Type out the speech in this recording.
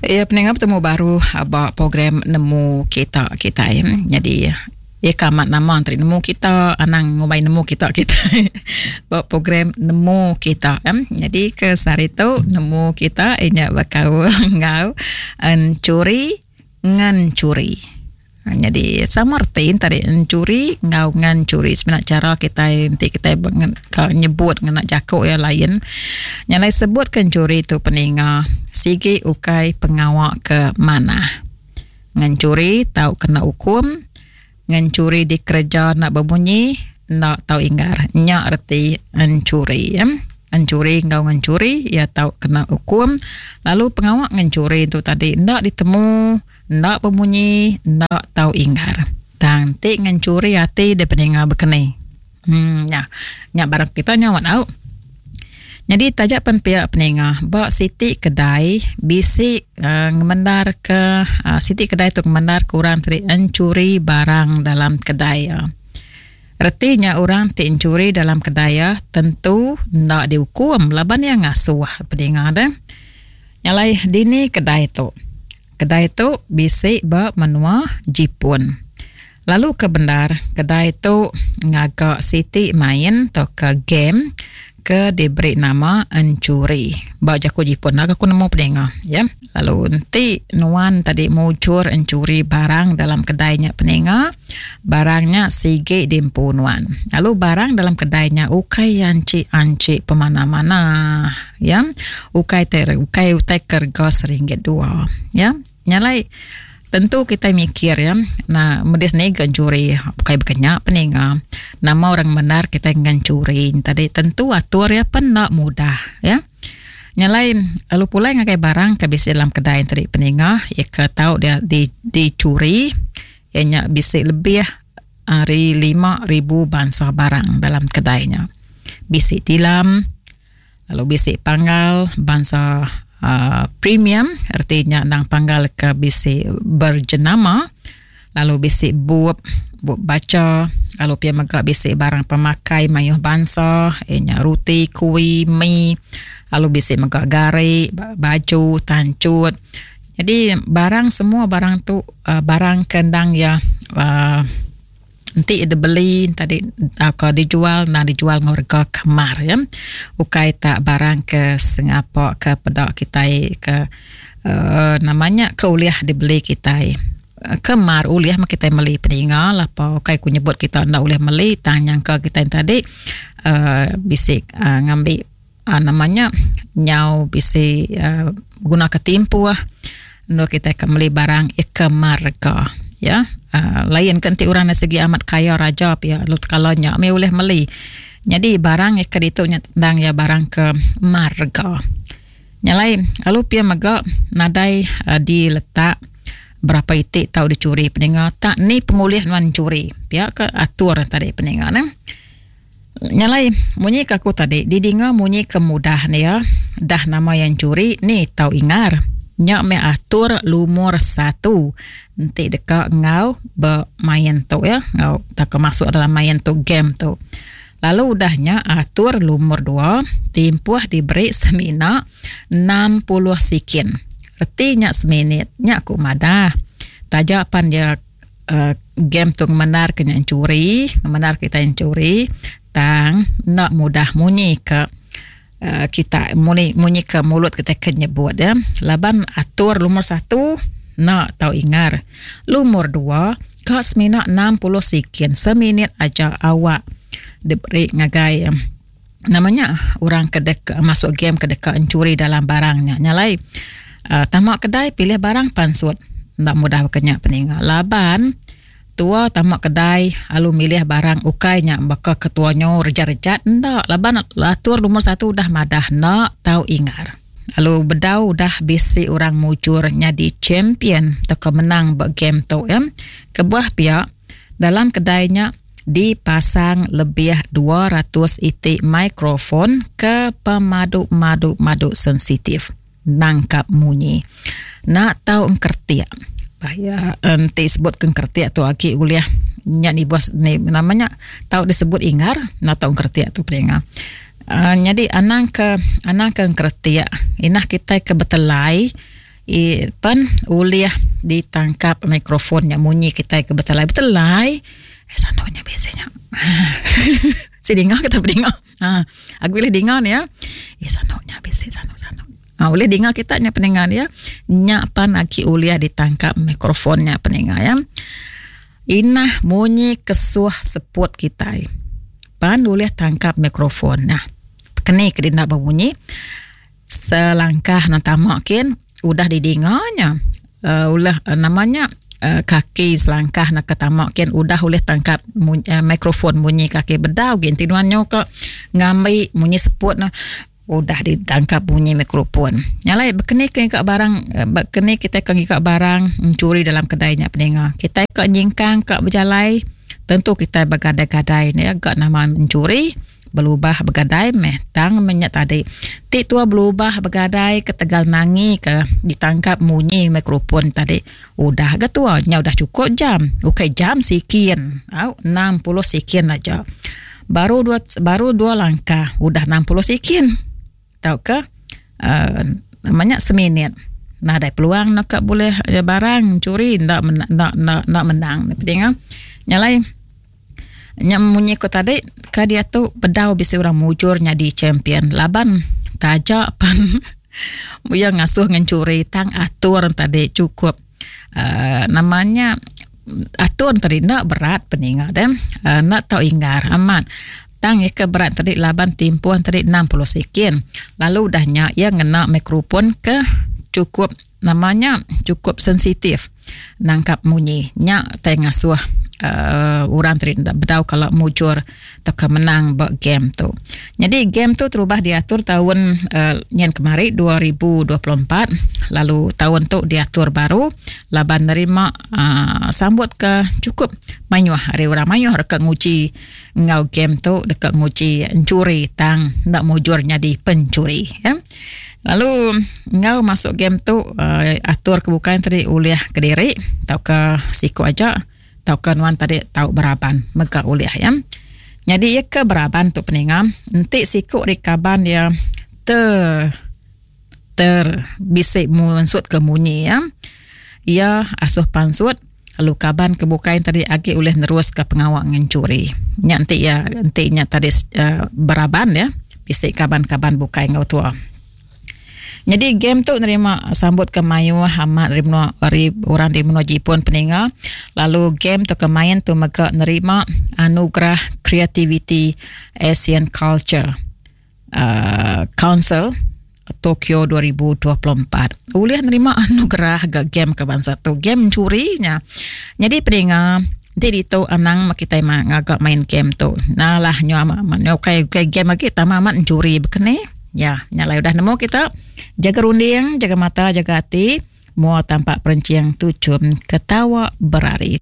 Iya peninga betemu baru ba program nemu kita kitai. Jadi iya ke amat nama entri nemu kita anang ngumbai nemu kita kitai ba program nemu kita. Jadi ke sehari tu nemu kita inya bekaul enggau enchuri ngenchuri. Nyadi sama reti tadi enchuri enggau ngenchuri semina chara kitai enti kitai ka nyebut ngena jaku iya lain. Nya alai sebut ke enchuri tu peninga sigi ukai pengawa ke manah. Ngenchuri tau kena ukum, ngenchuri dikereja enda bemunyi enda tau inggar. Nya reti enchuri. Enchuri enggau ngenchuri iya tau kena ukum lalu pengawa ngenchuri tu tadi enda ditemu. Enda bemunyi, enda tau inggar. Tang ti ngenchuri ati dep ninga bekeni. Hmm nya. Nya barang kita nyaut au. Nyadi taja pen pia peninga ba siti kedai bisi uh, ngemendar ke uh, siti kedai tu ngemendar ke orang ti enchuri barang dalam kedai ya. Reti nya orang ti enchuri dalam kedai ya tentu enda diukum laban iya ngasuh peninga deh. Nya alai dini kedai tu. Kedai tu bisi ba menua Jipun. Lalu ke bendar, kedai tu ngaga siti main tauka game ke diberi nama Enchuri. Ba jaku Jipun lah aku nemu peninga. Ya. Lalu enti nuan tadi mujur enchuri barang dalam kedai nya peninga, barang nya sigi diempu nuan. Lalu barang dalam kedai nya ukai anchi-anchi pemana-mana. Ya. Ukai te ukai utai ke rega seringgit dua. Ya. Nya alai tentu kitai mikir ya na medis ni ga enchuri ukai baka nya peninga nama orang bendar kitai ngan churi tadi tentu atur iya pen enda mudah ya. Nya alai lalu pulai ngagai barang ke bisi dalam kedai tadi peninga iya ke tau dia di dicuri iya nya bisi lebih ari 5000 bansa barang dalam kedai nya. Bisi tilam Lalu bisi panggal bansa uh, premium reti nya endang panggal ke bisi berjenama lalu bisi bup bup bacha lalu pia mega bisi barang pemakai mayuh bansa iya nya ruti kuih mi lalu bisi mega gari baju tanchut jadi barang semua barang tu uh, barang ke endang iya uh, Enti dibeli tadi tauka dijual endang dijual enggau rega ke mar ya. Ukai tak barang ke sengapa ke peda kitai ke uhh nama nya ke ulih dibeli kitai. Ke mar ulih meh kitai meli peninga lapa ukai ku nyebut kita enda ulih meli tang nyangka kitai tadi uhh bisi uhh ngambi uhh nama nya nyau bisi uhh beguna ke timpuh endur kitai ke meli barang ke mar rega ya uhh lain ke enti orang sigi amat kaya raja pia lalu tekala nya mih ulih meli. Nyadi barang ke ditu nya endang iya barang ke mar rega. Nya alai lalu pia mega nadai uhh diletak berapa iti tau dicuri peninga tak ni pengulih nuan curi pia ke atur tadi peninga ne. Nya alai munyi ke aku tadi didinga munyi ke mudah ne iya dah nama iya enchuri ni tau ingar. Nya meh atur lumur satu enti deka enggau bemain tu iya enggau tauka masuk dalam main tu game tu. Lalu udah nya atur lumur dua timpuh diberi semina 60 sikin. Reti nya seminit nya ku madah taja pan iya uhh game tu ngemendar ke nya enchuri ngemendar kita enchuri tang enda mudah munyi ke uhh kita munyi munyi ke mulut kita ke nyebut ya laban atur lumur satu enda tau ingar lumur dua ka semina 60 sikin seminit aja awak diberi ngagai nama nya orang ke deka masuk game ke deka enchuri dalam barang nya. Nya alai uhh tama kedai pilih barang pansut enda mudah baka nya peninga laban tua tama kedai lalu milih barang ukai nya baka ketua nyu rejat-rejat enda laban atur lumur satu udah madah enda tau ingar. Lalu bedau udah bisi orang mujur nyadi champion tauka menang ba game tu ya. Kebuah pia dalam kedai nya dipasang lebih 200 iti mikrofon ke pemadu-madu-madu sensitif nangkap munyi. Nak tau engkertik. Bahaya enti sebut ke engkertik tu agi ulih nya nibuh ni nama nya tau disebut ingar nak tau engkertik tu peninga. Uh, nyadi anang ke anang ke engkertik inah kitai ke betelai. I pen ulih ditangkap mikrofon nya munyi kitai ke betelai betelai. Eh sanu nya bisi nya. Si dinga kita bedinga. Ha aku ulih dinga ne ya. Eh sanu nya bisi sanu sanu. Ha ulih dinga kita nya peninga dia. Nya pan agi ulih ditangkap mikrofon nya peninga ya. Inah munyi kesuh seput kitai. Pan ulih tangkap mikrofon nah. Keni ke dina bemunyi selangkah nan tama kin udah didinga nya uh, ulah uh, nama nya uh, kaki selangkah nak ke tama kin udah ulih tangkap munyi, uh, mikrofon munyi kaki bedau gin ti nuan nyo ke ngambi munyi seput nah udah ditangkap bunyi mikrofon. Nya alai bekeni ke ngiga barang eh, bekeni kitai ke ngiga barang mencuri dalam kedai nya peninga. Kitai ke nyingkang ke bejalai tentu kitai begadai-gadai ne ga nama mencuri belubah begadai meh tang meh nya tadi. Ti tua belubah begadai ketegal nangi ke ditangkap munyi mikrofon tadi udah ga tua nya udah cukup jam ukai jam sikin au 60 sikin aja. Baru dua baru dua langkah udah 60 sikin tauka uh, nama nya seminit. Nadai peluang nak ka bulih eh, barang curi enda enda enda enda menang pedinga. Nya alai nya munyi ko tadi ka diatu bedau bisi orang mujur nyadi champion laban taja pan iya ngasuh ngencuri tang atur tadi cukup uh, nama nya atur tadi enda berat peninga deh uh, enda tau inggar amat tang iya ke berat tadi laban timpuh tadi 60 sikin lalu udah nya iya ngena mikrofon ke cukup nama nya cukup sensitif nangkap munyi nya tai ngasuh uh, orang tadi enda bedau kala mujur tauka menang ba game tu. Nyadi game tu terubah diatur taun uh, nyen kemari 2024 lalu taun tu diatur baru laban nerima uh, sambut ke cukup mayuh ari orang mayuh deka nguji enggau game tu deka nguji encuri tang enda mujur nyadi pencuri ya. Lalu enggau masuk game tu uh, atur ke bukai tadi ulih kediri tauka siku aja tauka nuan tadi tau beraban mega ulih ya. Nyadi iya ke beraban tu peninga enti siku ari kaban iya ter ter bisi mansut ke munyi iya iya asuh pansut lalu kaban ke bukai tadi agi ulih nerus ke pengawa ngencuri. Nya enti iya enti nya tadi uh, beraban ya bisi kaban-kaban bukai enggau tua. Nyadi game tu nerima sambut ke mayuh amat ari menua ari orang di menua Jipun peninga lalu game tu ke main tu mega nerima anugerah Creativity Asian Culture uh, Council Tokyo 2024. Ulih nerima anugerah ga game ke bansa tu. Game mencuri nya. Nyadi peninga enti ditu anang kitai ngaga main game tu. Nah lah nyu amat nyu ukai ukai game agi tama amat mencuri bekeni. Ya, nya alai udah nemu kita. Jaga runding, jaga mata, jaga ati. Mua tampak perencing tuchum ketawa berari.